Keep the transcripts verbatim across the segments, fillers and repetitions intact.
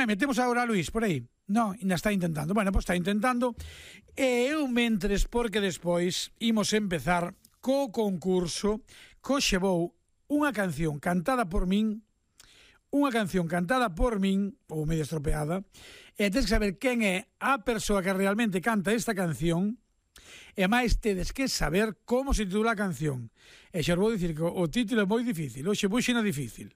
Metemos agora a Luís por aí. Non, ainda está intentando. Bueno, pois está intentando. E eu mentres, porque despois imos empezar co concurso co xevou unha canción cantada por min, unha canción cantada por min, ou medio estropeada, e tens que saber quen é a persoa que realmente canta esta canción, e máis tedes que saber como se titula a canción. E xa vou dicir que o título é moi difícil, hoxe puxena difícil.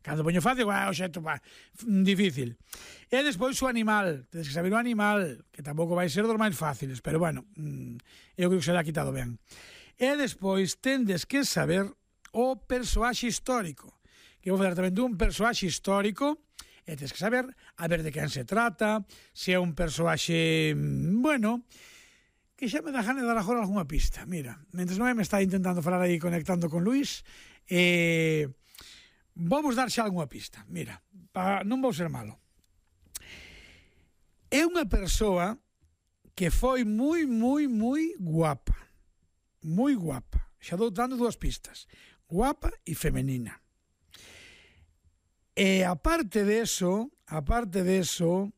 Cando poño fácil, ah, oxe, va, difícil. E despois o animal, tedes que saber o animal, que tampouco vai ser dos máis fáciles, pero bueno, eu creo que se l'ha quitado ben. E despois tendes que saber o persoaxe histórico, que vou falar tamén dun persoaxe histórico, e tens que saber a ver de quen se trata, se é un persoaxe, bueno, que xa me dá gana de dar agora algunha pista. Mira, mentres non me está intentando falar aí conectando con Luís, e... Eh, vamos dar xa algunha pista. Mira, pa, non vou ser malo. É unha persoa que foi moi, moi, moi guapa. Moi guapa. Xa dou dando dúas pistas. Guapa e femenina. E aparte de eso, aparte de eso,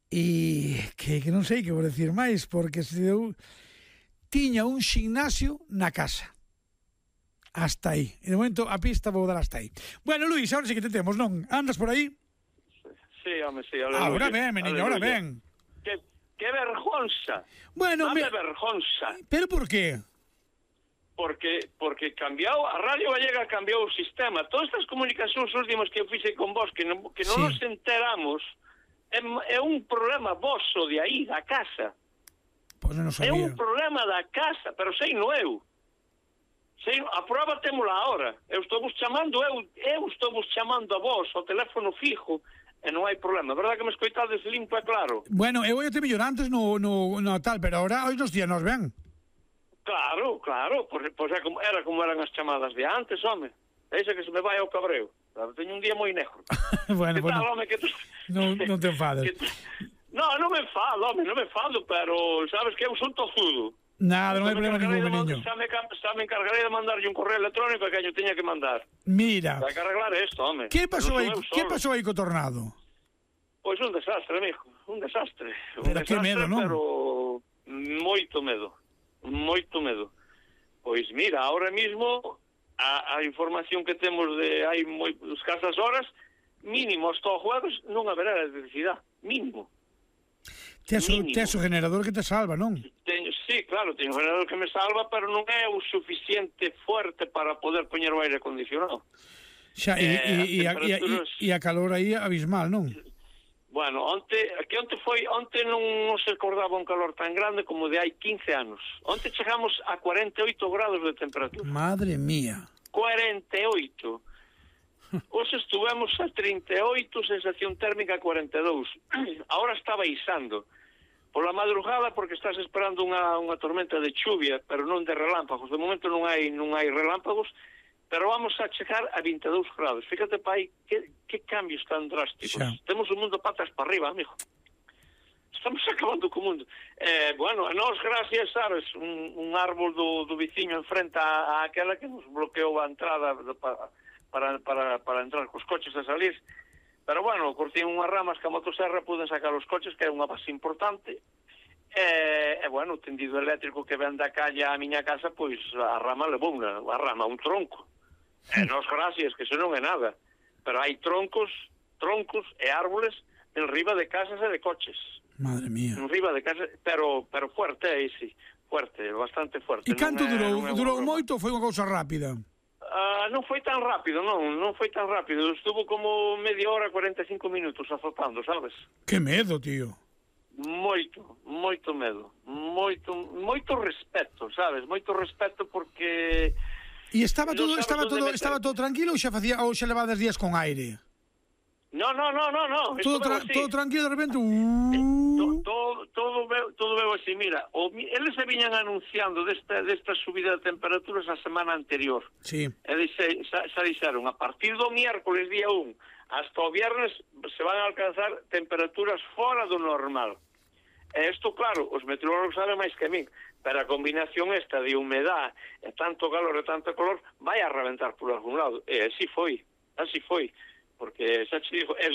e que, que non sei que vou decir máis, porque se deu, tiña un gimnasio na casa. Hasta aí. E de momento a pista vou dar hasta aí. Bueno, Luís, ahora sí que te temos, non? Andas por aí? Sí, home, sí. Aleluya. Ahora ben, meniño, ahora ben. Que, que vergonza. Bueno, Dame me... vergonza. Pero por qué? Porque porque cambiou, a Radio Gallega cambiou o sistema. Todas estas comunicacións últimas que eu fixe con vos, que non, que non sí. nos enteramos, é, é un problema vosso de aí, da casa. Pois non sabía. É un problema da casa, pero sei no eu. Sei, a prova témola ahora. Eu estou vos chamando, eu, eu estou vos chamando a vos ao teléfono fijo e non hai problema. Verdad que me escoitades limpo e claro? Bueno, eu ia te mellor antes no, no, no tal, pero ahora hoy nos días nos ven. Claro, claro. Pois, pois é como, era como eran as chamadas de antes, home. Deixa que se me vai ao cabreo. Teño un día moi negro. Bueno, que tal, bueno. Home, que tu... non, non te enfades. Que... No, non me enfado, home, non me enfado, pero sabes que eu son tozudo. Nada, non hai problema ningún, niño. Xa me, xa me encargarei de mandarlle un correo electrónico que yo teña que mandar. Mira. Vai que arreglar isto, home. Que pasou aí, que pasou aí co tornado? Pois un desastre, amigo, un desastre. Un pero desastre, que medo, non? Pero moito medo, moito medo. Pois mira, ahora mismo a, a información que temos de hai moi escasas horas, mínimo hasta o jueves non haberá electricidade, mínimo. Tes o, tes o generador que te salva, non? Teño, sí, claro, teño un generador que me salva, pero non é o suficiente fuerte para poder poñer o aire acondicionado. Xa, e, eh, e, a, temperaturas... e, e a calor aí abismal, non? Bueno, onte, que onte foi, onte non, non se acordaba un calor tan grande como de hai quince anos. Onte chegamos a cuarenta e oito grados de temperatura. Madre mía. cuarenta e oito. Hoxe estuvemos a trinta e oito, sensación térmica cuarenta e dous. Ahora está baixando. Pola madrugada porque estás esperando unha, unha tormenta de chuvia, pero non de relámpagos. De momento non hai non hai relámpagos, pero vamos a chegar a vinte e dous grados. Fíjate, pai, que, que cambios tan drásticos. Xa. Temos o mundo patas para arriba, amigo. Estamos acabando co mundo. Eh, bueno, a nós, gracias, sabes, un, un árbol do, do veciño enfrenta a, a aquela que nos bloqueou a entrada de, para, para, para, para entrar cos coches a salir. Pero, bueno, cortín unhas ramas que a motosserra puden sacar os coches, que é unha base importante. E, e bueno, o tendido eléctrico que ven da calle á miña casa, pois a rama levou unha, a rama, un tronco. E nos gracias, que eso non é nada. Pero hai troncos, troncos e árboles en riba de casas e de coches. Madre mía. En riba de casas, pero pero fuerte, aí sí, fuerte, bastante fuerte. E canto durou? Durou moito ou foi unha cousa rápida? Uh, non foi tan rápido, non, non foi tan rápido. Estuvo como media hora, cuarenta e cinco minutos azotando, sabes? Que medo, tío. Moito, moito medo. Moito, moito respeto, sabes? Moito respeto porque... E estaba todo, estaba todo, estaba todo tranquilo ou xa facía ou xa levades días con aire? No, no, no, no, no. Todo, tra todo tranquilo, de repente... Uh... Todo, todo, todo, veo, todo veo así, mira, o, eles se viñan anunciando desta, desta subida de temperaturas a semana anterior. Sí. Eles se, xa, xa dixeron, a partir do miércoles día un hasta o viernes se van a alcanzar temperaturas fora do normal. E isto, claro, os meteorólogos saben máis que a min, pero a combinación esta de humedad e tanto calor e tanto calor vai a reventar por algún lado. E así foi, así foi. porque xa te digo, é